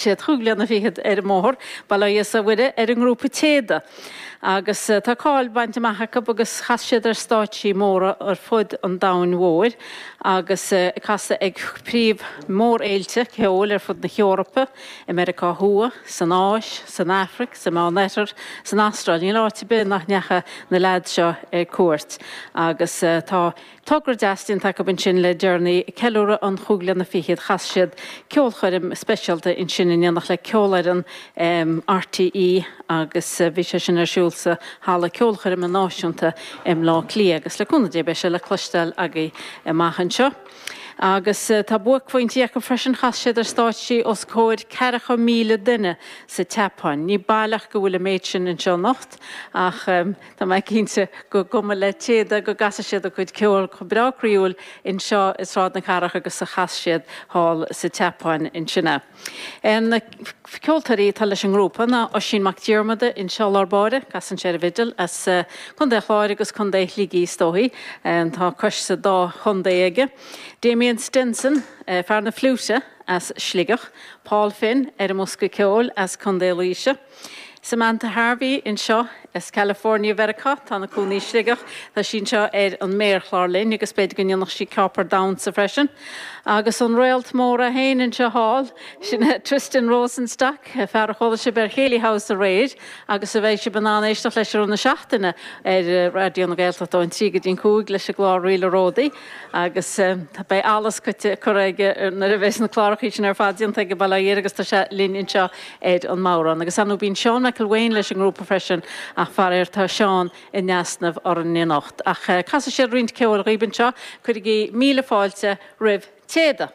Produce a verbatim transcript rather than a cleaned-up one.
Siad chúig bliana fichead ar an mbóthar, bail ó Dhia is ó Mhuire ar an ngrúpa Téada. Agus tá cáil bainte amach acu agus chas siad ar stáitsí móra ar fud an domhain mhóir agus ag casadh ag príomh mórfhéilte ceoil ar fud na hEorpa, i Meiriceá Thuaidh, san Áis, san Afraic, sa Meánoirthear, san Astráil. Níl áit ar bith nach ndeachaigh na leaids seo ar cuairt. Agus tá Togra deas déanta acu ansin le deireanaí, ag ceiliúradh an chúig bliana fichead, chas siad ceolchoirm speisialta ansin in éineacht le Ceolfhoireann RTÉ agus bhí sé sin ar siúl sa Halla Ceolchoirme Náisiúnta i mBleá Cliath agus le cúnamh Dé beidh sé le cloisteáil agaibh amach anseo. Agus tá buaicphointí acu freisin, chas siad ar stáitsí os comhair ceathracha míle duine sa tSeapáin. Ní baileach go bhfuil an méid sin anseo anocht ach tá mé cinnte gur cuma le Téada go gcasfaidh siad a gcuid ceoil chomh breá croíúil anseo i Sráid na Cathrach agus a chas siad thall sa tSeapáin ansin. Na ceoltóirí atá leis an ngrúpa ná Oisín Mac Diarmada anseo i lár báire, casann sé ar an bhfidil, as Contae an Chláir agus Contae Shligigh is dóichí, tá cois sa dá chontae aige. Damien Stenson, fear na fliúite as Sligeach, Paul Finn ar an mbosca ceoil as Contae Laoise, Samantha Harvey anseo as California Mheiriceá, tá ina cónaí i Sligeach, tá sí anseo ar an méarchlár linn agus b'fhéidir go ndéanfadh sí ceapaire damhsa freisin. Agus an réalt mór é féin anseo thall, sin é Tristan Rosenstock, fear a chuala sibh ar Chéilí House aréir agus a bheidh sibh in ann éisteacht leis i rith na seachtaine ar Raidió na Gaeltachta ón trí go dtí an cúig leis an gclár Ríle Ródaí agus beidh allas curtha aige nuair a bheas na cláracha sin ar fad déanta aige bail ó Dhia air agus tá sé linn anseo ar an mbodhrán. Agus ar ndóigh bíonn Seán McElwain leis an ngrúpa freisin ach faraor tá Seán in easnamh orainn anocht. Ach casfaidh siad roinnt ceoil dhaoibh anseo, cuirigí míle fáilte roimh Téada!